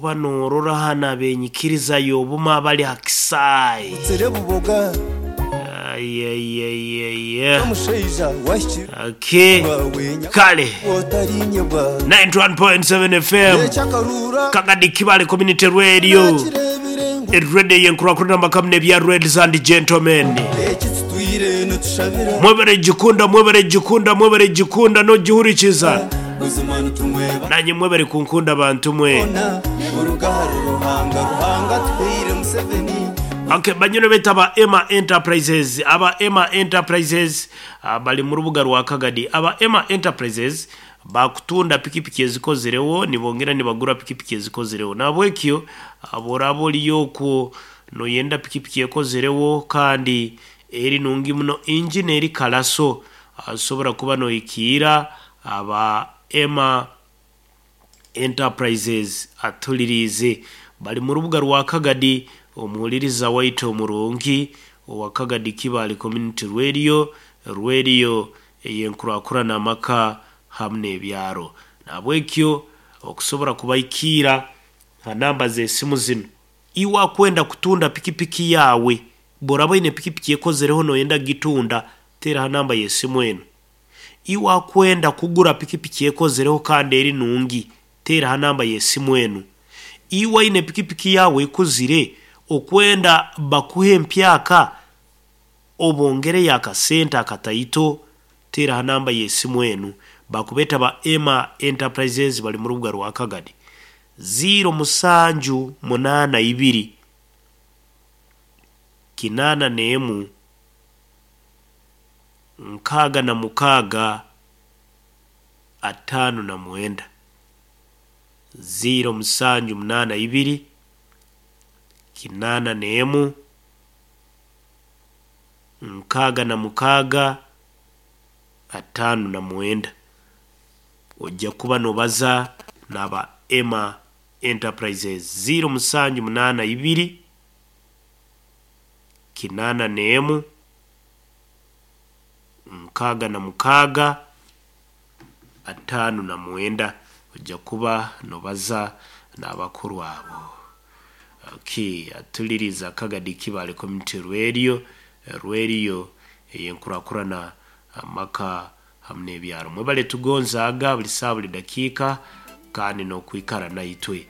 Kuba noorora hanu ab'enyikiriza y'obumu abali ha kisaayi. Otsire buboga. Ayayayaya. Omushaija wahikire Okay. wawe Kale. otarinyebwa. 91.7 FM. Ekyakarura. Kagadi Kibale Community Radio. Nakirebire ngu Radio yenkurakurana amakamu n'ebya ladies and gentlemen. Eki tutwire nitushabira. Mwebare gikunda, mwebare gikunda, mwebare gikunda n'ogihurikiza. Buzima nitumweba. Nanye mwebare kunkunda bantu mwe. Ona buruga ahari Ruhanga Ruhanga atuhaire Museveni. Okay, banyine beta aba Emma Enterprises, aba Emma Enterprises bali mu rubuga rwa Kagadi. Aba Emma Enterprises bakutunda pikipiki ezikozirewo nibongera nibagura pikipiki ezikozirewo. Nabwekyo bworaba oriyo okwo noyenda pikipiki ekozirewo kandi eri nungi muno injini eri kalaso asobora kuba noyikiira aba Emma Enterprises atuliriize bali mu rubuga rwa Kagadi omuhuliriza waitu omurungi owa Kagadi Kibale Community Radio radio ey'enkurakurana amaka hamu n'ebyaro nahabwekyo okusobora kubaikiira ha namba z'esimu zinu iwe akwenda kutunda pikipiki yaawe bworaba oine pikipiki ekozereho noyenda kugitunda teera ha namba y'esimu enu iwe akwenda kugura pikipiki ekozereho kandi eri nungi teera ha namba y'esimu enu iwe aine pikipiki yaawe ekuzire okwenda bakuhe empyaka obongereyo akasente akataito teera ha namba y'esimu enu bakubeeta ba Emma Enterprises bali mu rubuga rwa Kagadi 0782 81 66 59 0782 81 66 59 ojja kuba nobaza n'aba Emma Enterprises 0782 81 66 59 ojja kuba nobaza n'abakuru abo. Okay, atuliriza Kagadi Kibale Community Radio, radio ey'enkurakurana amaka hamu n'ebyaro. Mwebale tugonzaaga buli saaha buli dakiika kandi n'okwikara naitwe. Okay.